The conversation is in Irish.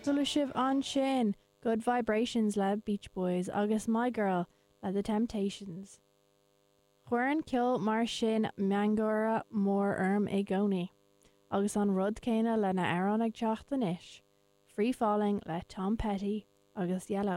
Chuala sibh ansin Good Vibrations le Beach Boys agus My Girl le The Temptations. Cuireann ceol mar sin miongháire mór orm i gcónaí. Agus an rud céanna lena amhrán ag teacht anois, Free Falling le Tom Petty agus Yello.